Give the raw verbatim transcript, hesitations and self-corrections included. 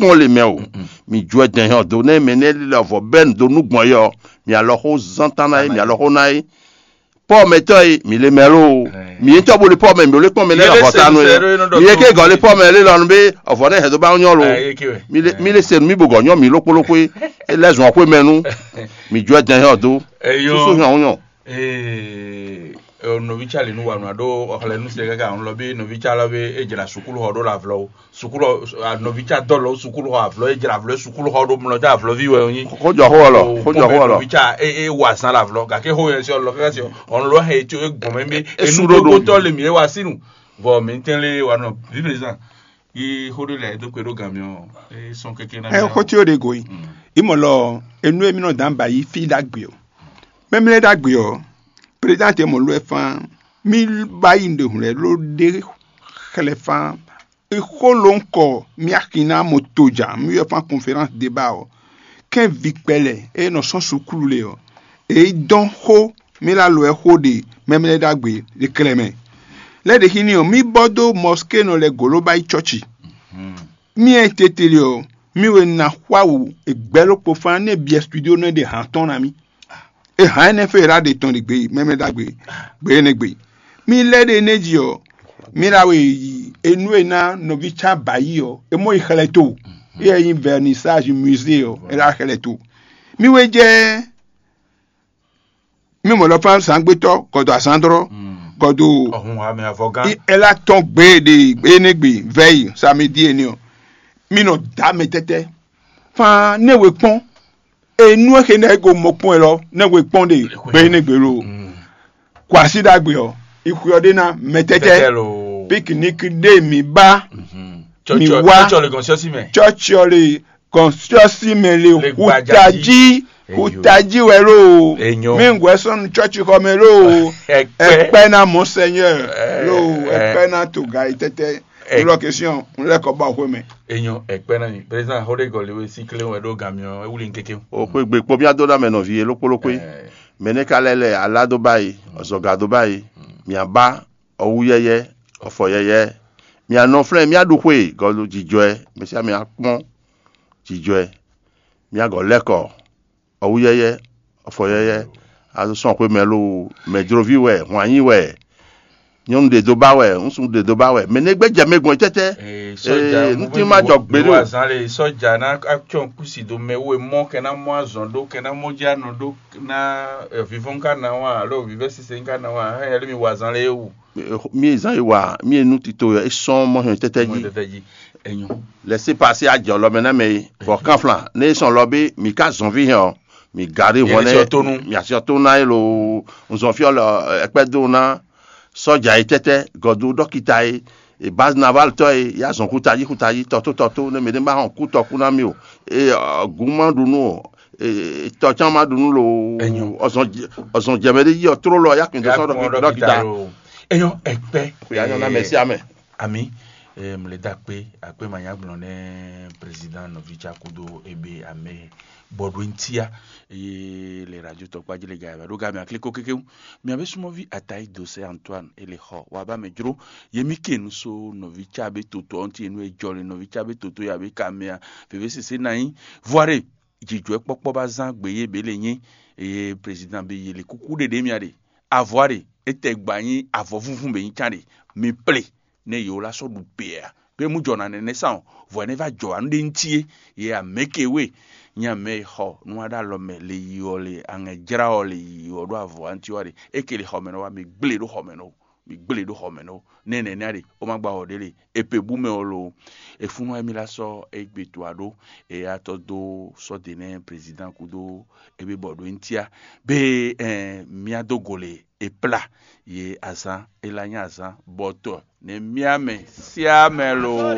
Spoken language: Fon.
kpɔ́n le mɛ o. Mi jɔ ɛ dɛn hɛn ɔ do nɛ mɛ nɛ lɛ vɔ bɛn do nú gbɔn yɛ ɔ, mi alɔ xó zán tán ná é, mi alɔ xó ná é. Pɔ́ mɛtɔ́ e mi le mɛ lo, mi yé tɔ́ bo le pɔ́ mɛ mi bo le kpɔ́n mɛ lɛ vɔ ta nú é. Mi yé ké gɔ́ le pɔ́ mɛ lé lɔ nú bé, ọ̀vɔ́ nɛ hɛn dó bá nyɔ́ lo. Mi le se mi bo gɔ́ nyɔ́ mi ló kpóló xwé, é lɛ́ zɔn xwé mɛ nú. Mi jɔ ɛ dɛn hɛn ɔ do. Susu hɛn ɔ nyɔ. Ee, nɔvítsa le nu wa nua ɖó ɔxlɛ nu se kaka ŋlɔ bí nɔvítsa lɔ bí e jra sukulu xɔ ɖó la vlɔ o. Sukulu nɔvítsa dɔ lɔ sukulu xɔ avlɔ e jra avlɔ sukulu xɔ ɖó mlɔ ja avlɔ vi wɛ onyi. Xójɔ xó ɔlɔ, xójɔ xó ɔlɔ. Nɔvítsa e e wa zan la vlɔ gake xó yɛ si ɔlɔ kaka si ɔn lɔ hɛ tso e gbɔn mɛ bí e su ɖó ɖó. Enudogotɔ le mi e wa sinu vɔ mi tɛn le wa nɔ vivi zan yi xó ɖé lɛ do kpe ɖó gan mi ɔ e sɔn keke na. Ɛ xó tí ó ɖe go yi. Imɔ lɔ enu e mi nɔ dan ba yi fi ɖagbe o. Mɛmlɛ ɖagbe ɔ, président tɛ mɔ lɔ ɛ fán. Mi ba yi ɖe hun lɛ ló ɖe xlɛ fán. Ixo ló ń kɔ mía xi ná mo tojà mí wɛ fán conférence débat ɔ. Kɛ́n vi kpɛlɛ e nɔ sɔ́ suklu le ɔ, èyí dɔn xó mí lá lo ɛ xó ɖe mɛmlɛ ɖagbe ɖe klɛ mɛ. Lɛ ɖe xi ni ɔ, mí bɔ dó mɔské nɔ lɛ golo ba yi tsɔ́chi. Mí ɛ tete le ɔ, mí wɛ na xwá wǔ egbɛ́ ló kpo fán nɛ biɛ studio nɛ ɖe hǎn tɔn na mí. E hǎn énɛ́ fɛ e ɖa ɖe tɔn ɖe gbe mɛmɛ ɖagbe gbe énɛ́ gbe. Mí lɛ́ ɖe énɛ́ jí ɔ́, mí ɖa we yi enú e ná nɔví cá ba yí ɔ́, é mɔ yi xlɛ to. Éyɛ́ nyí vernissage musée ɔ́, é ɖa xlɛ to. Mí wé jɛ mí mɔ lɔ fán zǎngbétɔ́ gɔdɔ azǎndrɔ́ gɔdɔ Ọ̀hún wa mɛ avɔgán. Ɛ lá tɔn gbe ɖe énɛ́ gbe vɛ́yi samedi énɛ́ ɔ́, mí nɔ dǎ mɛ tɛ́tɛ́. Fán nɛ́ we kpɔ́n. Enu e xe nɛ go mɔ kpɔn lɔ nɛ we kpɔn ɖe gbe ne gbe lo. Kwasi ɖagbe ɔ, ixwe ɔ ɖe na mɛtɛtɛ. Tɛtɛ lo. Picnic ɖe mi ba mi wa. Tsɔtsɔ le gɔn sɔsi mɛ. Tsɔtsɔ le gɔn sɔsi mɛ le hutaji hutaji wɛ lo. Enyo. Mi ŋgɔɛ sɔnu tsɔtsi xɔ mɛ lo. Ɛkpɛ. Ɛkpɛ na monseigneur lo. Ɛkpɛ na toga yi tɛtɛ. Lɔ question n lɛ kɔ ba xwe mɛ. Enyo ɛkpɛ na mi. Président Rodrigue Oliwe si kle wɛ ɖo gami ɔ ewuli nkeke. O xwe gbe kpɔ mía dó ɖa mɛ nɔvi yé lókpó lókpó. Mɛ nɛ ka lɛ lɛ alá dó báyìí, ɔzɔga dó báyìí, mia ba ɔwú yɛyɛ, ɔfɔ yɛyɛ, mia nɔ flɛ́n mia ɖu xwe gɔlu jijɔɛ, mɛ sia mɛ akpɔn jijɔɛ, mia gɔ lɛkɔ ɔwú yɛyɛ, ɔfɔ yɛyɛ, azɔ sɔn xwe mɛ lo, mɛjloví wɛ, hwanyi wɛ, nyɔnu ɖe dó ba wɛ, ŋsu ɖe dó ba wɛ, mɛ nɛ gbɛ jɛ mɛ gbɔn tɛtɛ. Ee, sɔja ee, ŋuti ma jɔ gbe ɖo. Azan le sɔja na atsɔ kusi do mɛ wo mɔ kɛ na mɔ azɔn ɖo kɛ na mɔ dzi anɔ ɖo na vivɔn ka na wa alo vivɛ sise ka na wa hɛn yɛlɛ mi wa azan le ewu. Mi zan yi wa mi nu tito yɔ esɔn mɔ hɛn tɛtɛ ji. Tɛtɛ ji enyo. Lɛ se pase ajɔ lɔ mɛ na mɛ yi vɔ kanflan ne sɔn lɔ bi mi ka zɔn vi hɛn ɔ mi gari hɔn ne mi asi to na ye lo nzɔn fi ɔlɔ ɛkpɛ do na. Sɔja yi tɛtɛ gɔdu dɔkita yi e base naval tɔ yi ya zɔn kuta yi kuta yi tɔto tɔto ne mɛ ne ma hɔn kutɔ kuna mi o. E gun ma ɖu nu o. Tɔ can ma ɖu nu lo. Ɔzɔn jɛmɛ ɖe yi ɔ tró lɔ ya kun dɔ sɔn dɔkita. Enyo ɛkpɛ. Kò yá nyɔ na mɛ sí amɛ. Ami mle da kpe akpe ma nya gblɔ ne président nɔvi tsa kudo ebe ame bɔɖo ntia eye le radio tɔkpa dzi le ga yaba ɖo ga mi akliko kekeŋ. Mi abe sumɔvi atayi dose Antoine ele xɔ wa ba mɛ dzro yemi ke nu so nɔvi tsa be toto ɔnti enu ejɔ le nɔvi tsa be toto ya be kamea veve sese na yi. Voire jijɔɛ kpɔkpɔ ba zan gbe ye be le nyi eye président be ye le kuku ɖeɖe mia ɖe. Avɔ ɖe etɛ gba nyi avɔ vúvún be nyi can ɖe mi ple ne yewo la sɔ ɖu gbe a be mu jɔ na nɛnɛ san o vɔ ne va jɔ anu ɖe ŋuti ye ye ameke we nyi ame xɔ nu wa ɖe alɔ mɛ le yi ɔ le aŋɛ jra ɔ le yi ɔ ɖo avɔ anti wa ɖe eke le xɔ mɛ nɔ wa mi gble ɖo xɔ mɛ nɔ mi gble ɖo xɔ mɛ nɔ ne nɛnɛ ɖe o ma gba wɔ ɖe le epe bu mɛ ɔ lo efunu emi la sɔ egbe to aɖo eya tɔ do sɔ de ne président kudo ebe bɔ ɖo ŋutia be ɛ mia do go le e kplá yě azǎn, é lá nyí azǎn bɔtɔ nɛ́ miá mɛ síá mɛ lo.